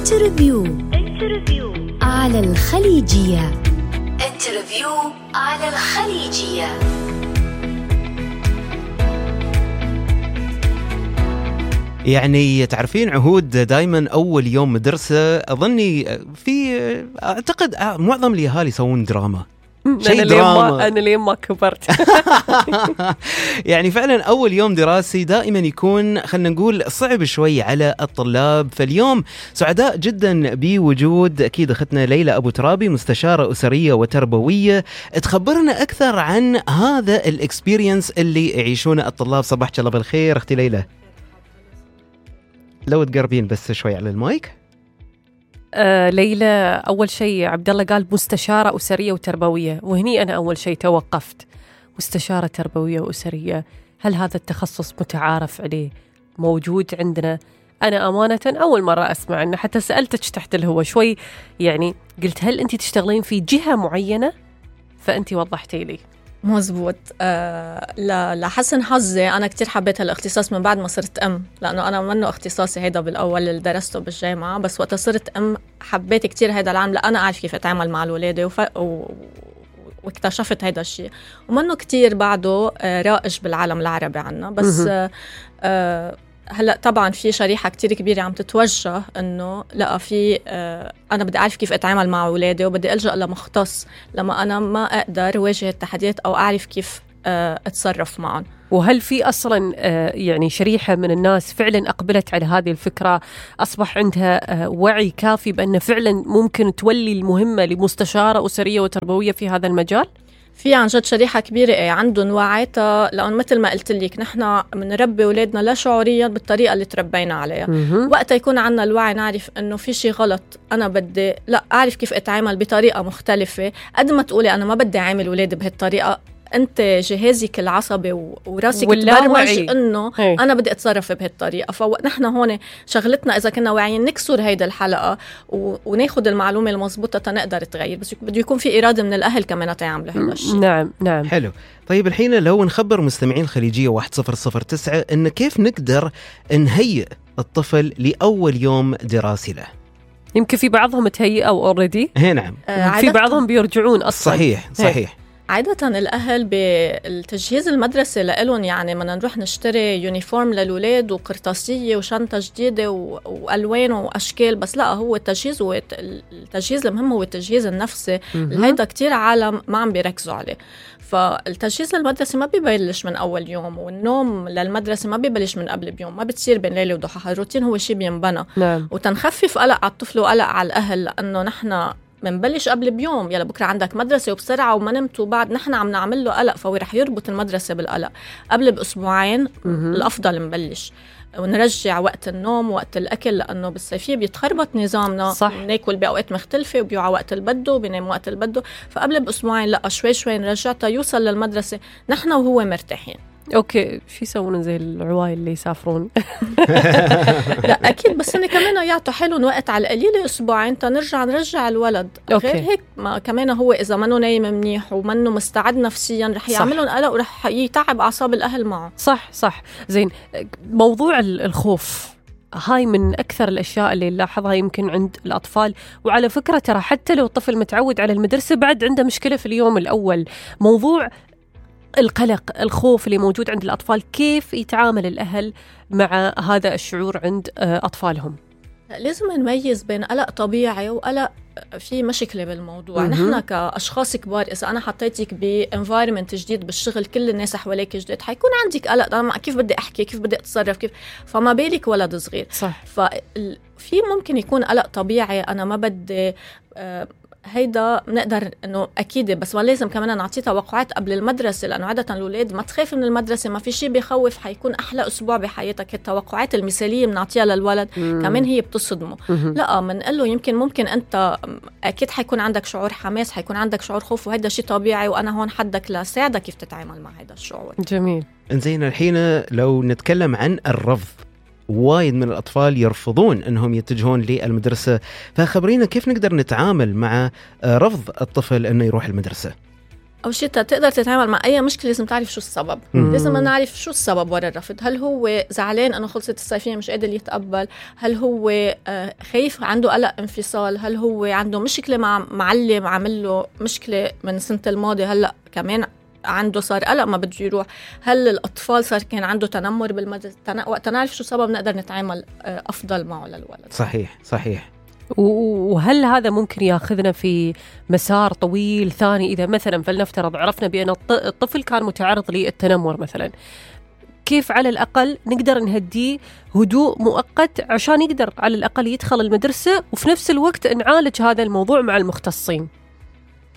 انترفيو على الخليجية. انترفيو على الخليجية. يعني تعرفين عهود دايما أول يوم مدرسة أظني أعتقد معظم الأهالي يسوون دراما. أنا ليه ما كبرت. يعني فعلا أول يوم دراسي دائما يكون خلنا نقول صعب شوي على الطلاب. فاليوم سعداء جدا بوجود أكيد أختنا ليلى أبو ترابي، مستشارة أسرية وتربوية، تخبرنا أكثر عن هذا الإكسبيرينس اللي يعيشونه الطلاب. صباحك الله بالخير أختي ليلى. لو تقربين بس شوي على المايك. ليلى، أول شيء عبد الله قال مستشارة أسرية وتربوية، وهني أنا أول شيء توقفت. مستشارة تربوية وأسرية، هل هذا التخصص متعارف عليه موجود عندنا؟ أنا أمانة أول مرة أسمع عنه، حتى سألتك تحت الهواء شوي، يعني قلت هل أنت تشتغلين في جهة معينة؟ فأنت وضحتي لي. مزبوط. لحسن حظي أنا كتير حبيت هالاختصاص من بعد ما صرت أم، لأنه أنا منه اختصاصي هيدا بالأول اللي درسته بالجامعة، بس وقت صرت أم حبيت كتير هيدا العالم، لأنا أعرف كيف أتعامل مع الولادة واكتشفت هيدا الشيء، ومنه كتير بعده رائج بالعالم العربي عنا. بس هلأ طبعا في شريحة كتير كبيرة عم تتوجه إنه لا، في أنا بدي أعرف كيف أتعامل مع أولادي وبدي ألجأ لمختص لما أنا ما أقدر واجه التحديات أو أعرف كيف أتصرف معهم. وهل في أصلا يعني شريحة من الناس فعلا أقبلت على هذه الفكرة، أصبح عندها وعي كافي بأن فعلا ممكن تولي المهمة لمستشارة أسرية وتربوية في هذا المجال؟ في عن جد شريحة كبيرة عندهم وعي، لأن مثل ما قلت لك نحن بنربي أولادنا لا شعوريا بالطريقة اللي تربينا عليها. وقت يكون عنا الوعي نعرف إنه في شيء غلط، أنا بدي لا أعرف كيف أتعامل بطريقة مختلفة. قد ما تقولي أنا ما بدي أعامل أولادي بهالطريقة، أنت جهازك العصبي وراسك تبرمج إنه أنا بدي أتصرف بهالطريقة. فنحن هون شغلتنا إذا كنا واعيين نكسر هيدا الحلقة وناخد المعلومة المضبوطة تنقدر تغير، بس بده يكون في إرادة من الأهل كمان تعمل هذا الشيء. نعم. حلو. طيب الحين لو نخبر مستمعين الخليجية 1009 إن كيف نقدر نهيئ الطفل لأول يوم دراسي له. يمكن في بعضهم تهيئوا أوريدي. نعم. في بعضهم بيرجعون أصلا. صحيح. عادة الأهل بالتجهيز المدرسة لإلهم، يعني بدنا نروح نشتري يونيفورم للولاد وقرطاسية وشنطة جديدة وألوان وأشكال، بس لا، هو التجهيز المهم هو التجهيز النفسي. هيدا كتير عالم ما عم بيركزوا عليه. فالتجهيز المدرسي ما بيبلش من أول يوم، والنوم للمدرسة ما بيبلش من قبل بيوم، ما بتصير بين ليلة وضحاها. الروتين هو شيء بينبنى. وتنخفف قلق على الطفل وقلق على الأهل، لأنه نحن منبلش قبل بيوم، يلا بكرة عندك مدرسة وبسرعة وما نمت، وبعد نحن عم نعمل له قلق، فهو رح يربط المدرسة بالقلق. قبل بأسبوعين الأفضل نبلش ونرجع وقت النوم وقت الأكل، لأنه بالصيفية بيتخربط نظامنا. ناكل بأوقات مختلفة وبيوعى وقت البدو وبينام وقت البدو. فقبل بأسبوعين لا، شوي نرجعته يوصل للمدرسة نحن وهو مرتاحين. اوكي، شو يسوون زي العوايل اللي يسافرون؟ لا اكيد، بس انا كمان يعطوا حلو وقت على القليله اسبوعين نرجع الولد. غير هيك ما كمان هو اذا منه نايم منيح ومنه مستعد نفسيا رح يعملون قلق ورح يتعب اعصاب الاهل معه. صح. زين، موضوع الخوف هاي من أكثر الأشياء اللي نلاحظها يمكن عند الأطفال. وعلى فكرة ترى حتى لو الطفل متعود على المدرسة بعد عنده مشكلة في اليوم الأول. موضوع القلق، الخوف اللي موجود عند الأطفال، كيف يتعامل الأهل مع هذا الشعور عند أطفالهم؟ لازم نميز بين قلق طبيعي وقلق في مشكلة بالموضوع. نحن كأشخاص كبار إذا أنا حطيتك بانفايرمنت جديد بالشغل، كل الناس حواليك جديد، حيكون عندك قلق. أنا كيف بدي أحكي، كيف بدي أتصرف، كيف، فما بالك ولد صغير. صح. ففي ممكن يكون قلق طبيعي، أنا ما بدي هيدا بنقدر انه اكيد، بس ما لازم كمان نعطيه توقعات قبل المدرسه، لانه عاده الاولاد ما تخاف من المدرسه، ما في شيء بيخوف، حيكون احلى اسبوع بحياتك. التوقعات المثاليه بنعطيها للولد كمان هي بتصدمه. لا، بنقول له ممكن انت اكيد حيكون عندك شعور حماس، حيكون عندك شعور خوف، وهيدا شيء طبيعي، وانا هون حدك لساعدك كيف تتعامل مع هذا الشعور. جميل. انزين، الحين لو نتكلم عن الرفض، وايد من الأطفال يرفضون أنهم يتجهون للمدرسة، فخبرينا كيف نقدر نتعامل مع رفض الطفل أنه يروح المدرسة؟ أو شيء تقدر تتعامل مع أي مشكلة لازم تعرف شو السبب. لازم نعرف شو السبب وراء الرفض. هل هو زعلان أنه خلصت الصيفية مش قادر يتقبل؟ هل هو خايف عنده قلق انفصال؟ هل هو عنده مشكلة مع معلم عمل له مشكلة من السنة الماضية هلأ كمان عنده صار قلق ما بده يروح؟ هل الأطفال صار كان عنده تنمر بالمدرسة؟ وقت نعرف شو السبب نقدر نتعامل أفضل معه للولد. صحيح. وهل هذا ممكن ياخذنا في مسار طويل ثاني؟ إذا مثلا فلنفترض عرفنا بأن الطفل كان متعرض للتنمر مثلا، كيف على الأقل نقدر نهديه هدوء مؤقت عشان يقدر على الأقل يدخل المدرسة، وفي نفس الوقت نعالج هذا الموضوع مع المختصين؟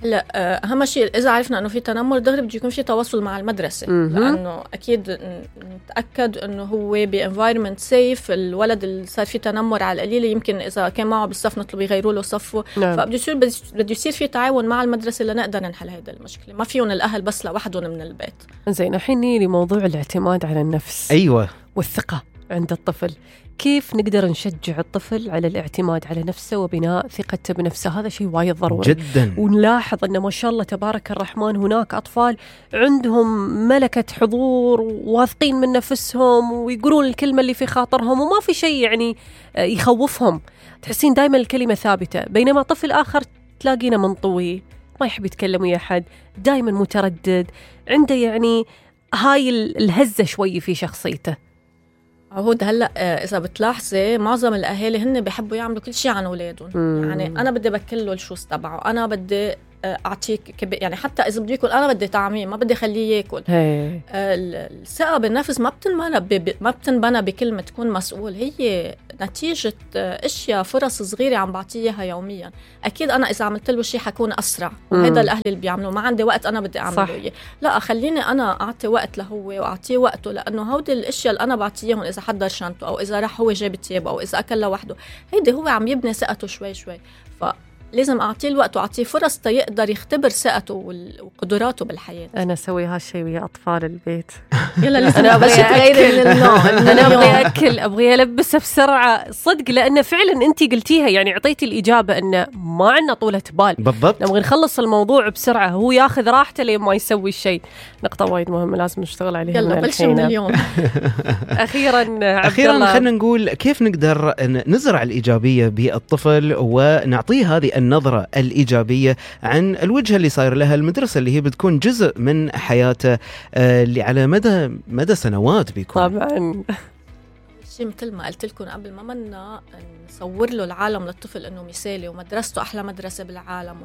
لا، أهم شيء إذا عرفنا إنه في تنمر دغري بده يكون في تواصل مع المدرسة، لأنه أكيد نتأكد إنه هو بإنفايرمنت سيف. الولد اللي صار فيه تنمر على القليلة يمكن إذا كان معه بالصف نطلب يغيروا له صفه. فبده يصير في تعاون مع المدرسة لنقدر نحل هذا المشكلة. ما فيهم الأهل بس لوحدهم من البيت. زين، الحين نيجي لموضوع الاعتماد على النفس. أيوة. والثقة عند الطفل. كيف نقدر نشجع الطفل على الاعتماد على نفسه وبناء ثقته بنفسه؟ هذا شيء وايد ضروري جدا. ونلاحظ أن ما شاء الله تبارك الرحمن هناك أطفال عندهم ملكة حضور وواثقين من نفسهم ويقولون الكلمة اللي في خاطرهم وما في شيء يعني يخوفهم، تحسين دائما الكلمة ثابتة. بينما طفل آخر تلاقينا منطوي، ما يحب يتكلم ويا أحد، دائما متردد، عنده يعني هاي الهزة شوي في شخصيته. عهود هلأ إذا بتلاحظي معظم الأهالي هن بيحبوا يعملوا كل شيء عن أولادهم. يعني أنا بدي بكله الشوز تبعه، أنا بدي أعطيك يعني حتى إذا بدي يأكل أنا بدي طعميه، ما بدي خليه يأكل. الثقة بالنفس ما بتنبنى بكلمة تكون مسؤول، هي نتيجة أشياء فرص صغيرة عم بعطيها يوميا. أكيد أنا إذا عملت له شيء حكون أسرع، وهذا الأهل اللي بيعملوا ما عندي وقت أنا بدي أعمله إيه. لا، خليني أنا أعطي وقت له وأعطيه وقته، لأنه هودي الأشياء اللي أنا بعطيهم إذا حضر شنطه أو إذا راح هو جاب تيابه أو إذا أكل لوحده، هيدي هو عم يبني ثقته شوي شوي. لازم أعطيه الوقت وأعطيه فرص تيقدر يختبر ثقته وقدراته بالحياة. أنا أسوي هالشيء ويا أطفال البيت. يلا لازم أنا أبغى أغير أنا أبغى أكل، أبغى ألبسه بسرعة صدق، لأن فعلا أنتي قلتيها يعني عطيتي الإجابة أن ما عندنا طولة بال. بالضبط. نبغى نخلص الموضوع بسرعة، هو ياخذ راحته لين ما يسوي الشيء. نقطة وايد مهمة لازم نشتغل عليها. يلا بلش من اليوم. أخيرا خلينا نقول كيف نقدر نزرع الإيجابية بالطفل ونعطيه هذه النظرة الإيجابية عن الوجهة اللي صاير لها المدرسة اللي هي بتكون جزء من حياته اللي على مدى سنوات بيكون. طبعا شيء مثل ما قلت لكم قبل، ما منا نصور له العالم للطفل انه مثالي ومدرسته احلى مدرسة بالعالم.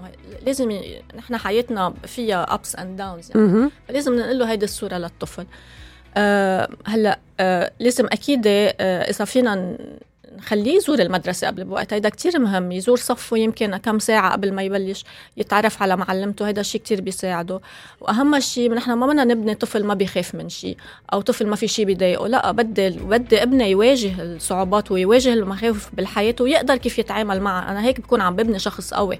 لازم نحن حياتنا فيها ups and downs يعني. لازم نقول له هيدي الصورة للطفل. هلا لازم اكيد اذا فينا نخليه يزور المدرسة قبل بوقت، هيدا كتير مهم. يزور صفه يمكن كم ساعة قبل ما يبلش، يتعرف على معلمته، هيدا شيء كتير بيساعده. وأهم شيء نحن ما بدنا نبني طفل ما بيخاف من شيء أو طفل ما في شيء بيضايقه. لا، بدي ابني يواجه الصعوبات ويواجه المخاوف بالحياة ويقدر كيف يتعامل معها. أنا هيك بكون عم ببني شخص قوي،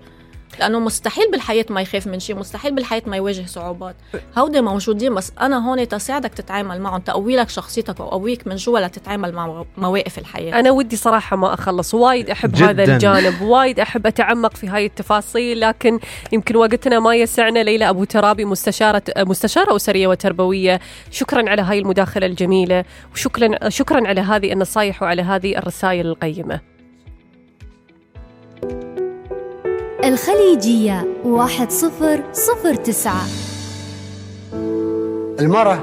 لأنه مستحيل بالحياة ما يخاف من شيء، مستحيل بالحياة ما يواجه صعوبات. هودي موجودين، بس أنا هون تساعدك تتعامل معهم، تقوي لك شخصيتك وقويك من جوا لتتعامل مع مواقف الحياة. أنا ودي صراحة ما أخلص، وايد أحب جداً. هذا الجانب، وايد أحب أتعمق في هاي التفاصيل، لكن يمكن وقتنا ما يسعنا. ليلى أبو ترابي، مستشارة أسرية وتربوية، شكرا على هاي المداخلة الجميلة، وشكرا على هذه النصايح وعلى هذه الرسائل القيمة. الخليجية 1009. المرأة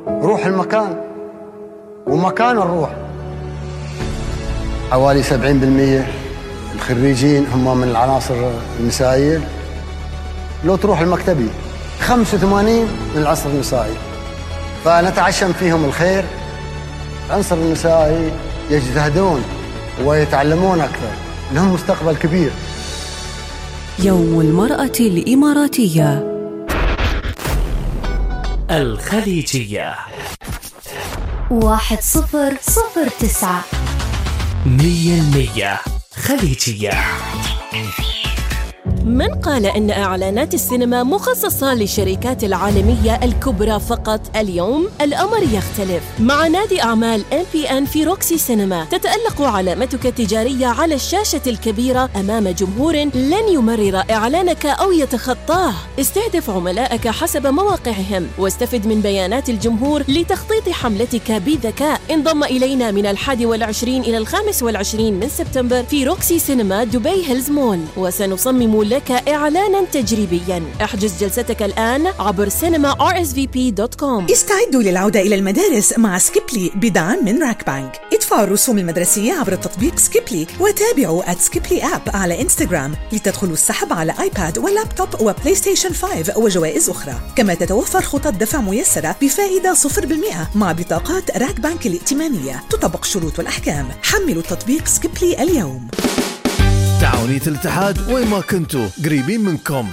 روح المكان ومكان الروح. حوالي 70% الخريجين هم من العناصر النسائية. لو تروح المكتبي 85 من العنصر النسائي، فنتعشم فيهم الخير. العنصر النسائي يجتهدون ويتعلمون أكثر، لهم مستقبل كبير. يوم المرأة الإماراتية. الخليجية 1009. 100% خليجية. من قال إن إعلانات السينما مخصصة للشركات العالمية الكبرى فقط؟ اليوم الأمر يختلف. مع نادي أعمال MPN في روكسي سينما تتألق علامتك التجارية على الشاشة الكبيرة أمام جمهور لن يمرر إعلانك أو يتخطاه. استهدف عملائك حسب مواقعهم واستفد من بيانات الجمهور لتخطيط حملتك بذكاء. انضم إلينا من 21 إلى 25 من سبتمبر في روكسي سينما دبي هيلز مول، وسنصمم لك إعلانا تجريبيا. احجز جلستك الآن عبر cinema.rsvp.com. استعدوا للعودة إلى المدارس مع سكيبلي بدعم من راك بانك. ادفعوا الرسوم المدرسية عبر التطبيق سكيبلي وتابعوا @سكيبلي آب على إنستغرام لتدخلوا السحب على آيباد ولابتوب وبلاي ستيشن 5 وجوائز أخرى. كما تتوفر خطط دفع ميسرة بفائدة 0% مع بطاقات راك بانك الائتمانية. تطبق الشروط والأحكام. حملوا تطبيق سكيبلي اليوم. تعاونية الاتحاد وين ما كنتوا قريبين منكم.